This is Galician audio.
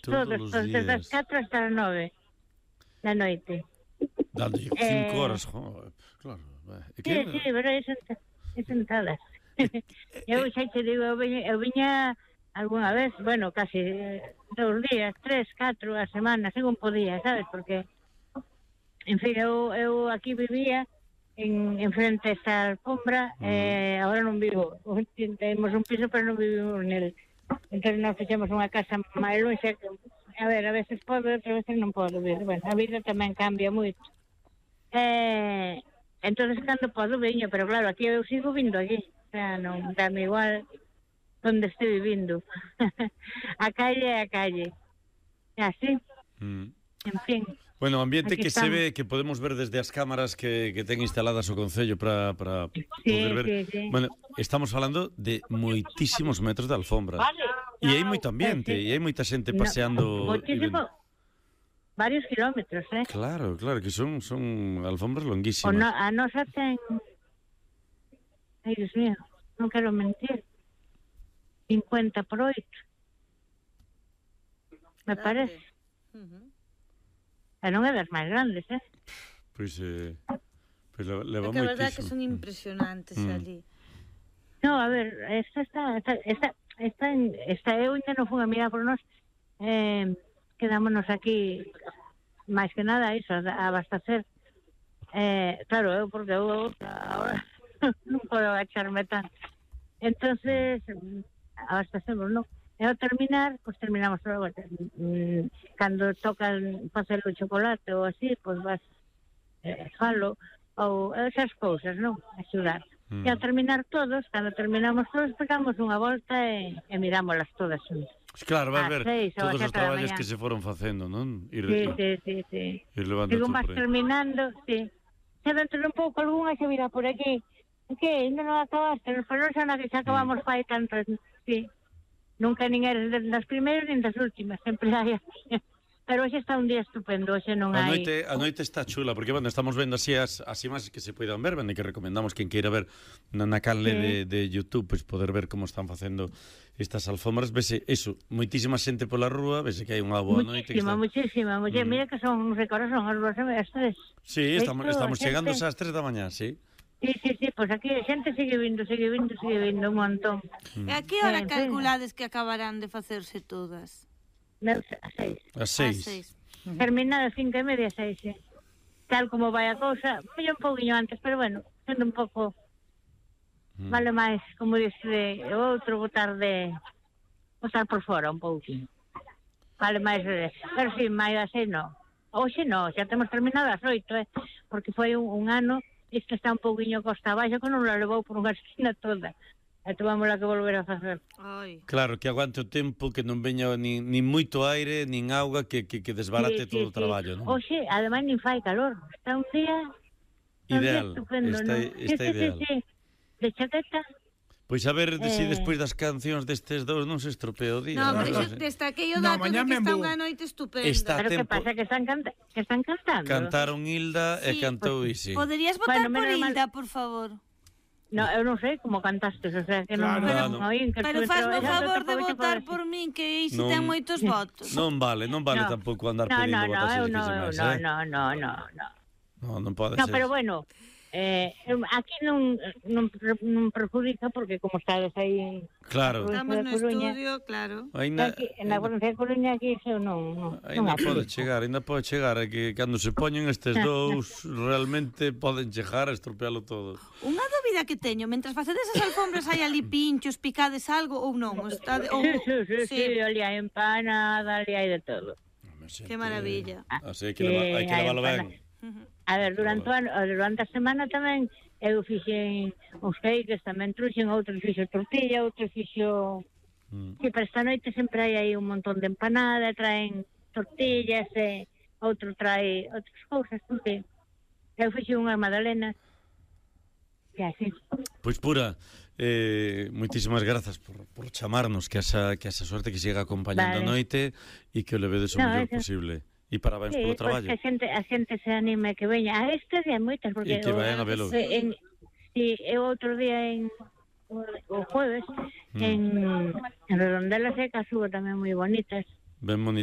todos os días. Desde as 4 hasta as 9 da noite. Dando 5 horas, claro. Sí, pero é sentadas. Eu xa te digo, eu viña algunha vez, bueno, casi 2 días, 3, 4 a semana, según podía, sabes? Porque, en fin, eu aquí vivía en frente a esta alfombra, agora non vivo. Temos un piso, pero non vivimos nel. Entón, nos fixemos unha casa máis longe. A ver, a veces podo, outras veces non podo vir. Bueno, a vida tamén cambia moito. Entón, cando podo, veño, pero claro, aquí eu sigo vindo aquí. O sea, non dame igual onde estou vivindo. A calle é a calle. É así. En fin. Bueno, o ambiente aquí que estamos. se ve, que podemos ver desde as cámaras que ten instaladas o Concello para poder ver. Sí. Bueno, estamos falando de moitísimos metros de alfombra. Vale. E hai moito ambiente, e hai moita xente paseando. Moitísimo. Varios kilómetros, Claro, que son alfombras longuísimas. A nosa ten... Ai, Dios mío, non quero mentir. 50 por 8. Me parece. E non é das máis grandes, Pois leva moitísimo. É que a verdade é que son impresionantes ali. No, a ver, esta eu ainda non fui a mirar por nós. Quedámonos aquí máis que nada iso, a abastecer. Claro, porque eu ahora non podo agacharme tanto. Entonces, abastecemos, non? E ao terminar, pues terminamos todo. Cando tocan facer o chocolate ou así, pues vas falo, ou esas cousas, non? Axudar. E ao terminar todos, cando terminamos todos, pegamos unha volta e mirámoslas todas xuntas. Claro, vas ver todos os traballos que se foron facendo, non? Sí. Ir levando Digo, todo vas por aí. terminando, sí. Se dentro un pouco algunha se virá por aquí. Que ainda non acabaste, pero non xa na que xa acabamos fai tantas, sí. Nunca nin eres das primeiras nin das últimas, sempre hai así. Pero hoxe está un día estupendo, hoxe non hai... A noite está chula, porque, bueno, estamos vendo así as imaxes que se poidan ver, e que recomendamos quen queira ver na canle de YouTube, pois poder ver como están facendo estas alfombras. Vese, eso, moitísima xente pola rúa, vese que hai unha boa noite. Muchísima. Mira que son, son as ruas as 3. Sí, estamos chegando ás 3 da mañá, sí. Sí, pois aquí a xente sigue vindo un montón. E a que hora calculades que acabarán de facerse todas? A 6. Terminada 5:30, 6, Tal como vai a cousa, un pouquinho antes, pero bueno, sendo un pouco... Vale máis, como dice o outro, botar por fora un pouquinho. Vale máis, pero si, máis das 6 non. Hoxe non, xa temos terminado as 8, porque foi un ano... Isto está un pouquinho costa abaixo, que non la levou por unha esquina toda. E tomámosla que volver a facer. Claro, que aguante o tempo, que non veña nin moito aire, nin auga, que desbarate todo o traballo, non? Oxe, ademais nin fai calor. Está un día... Ideal, estupendo, está ideal. Sí. De chaqueta... Pois a ver se despois das cancións destes dous non se estropea o día. No, pero destaquei o dato de que está unha noite estupenda. Pero que pasa, que están cantando. Cantaron Hilda e cantou Isi. Poderías votar por Hilda, por favor? No, eu non sei como cantastes, o sea, que non oín. Pero fazme o favor de votar por min, que Isi ten moitos votos. Non vale tampouco andar pedindo votacións que se máis, Non pode ser. No, pero bueno... aquí non perjudica porque como estades aí estamos no estudio, claro aquí, en la provincia de Coruña aquí eso non ainda pode chegar que cando se poñen estes dous realmente poden chegar a estropealo todo. Unha dúbida que teño, mentras facedes as alfombras hai ali pinchos, picades algo ou non? Sí, ali hai empanada, ali hai de todo. Que maravilla. Así que hai que leválo ben. A ver, durante a semana tamén eu fixen uns cakes, tamén truxen, outros fixo tortilla, outros fixo... Sí, pero esta noite sempre hai aí un montón de empanada, traen tortillas, outro trae outras cousas, porque eu fixen unha magdalena, que así. Pois Pura, moitísimas grazas por chamarnos, que esa sorte que siga acompañando a noite e que o levedes o mellor posible. E parabéns polo traballo. Que a xente se anime que veña a este día moitas, porque e que vayan a velo. Eu outro día o jueves en Redondela Seca subo tamén moi bonitas. Ben bonito.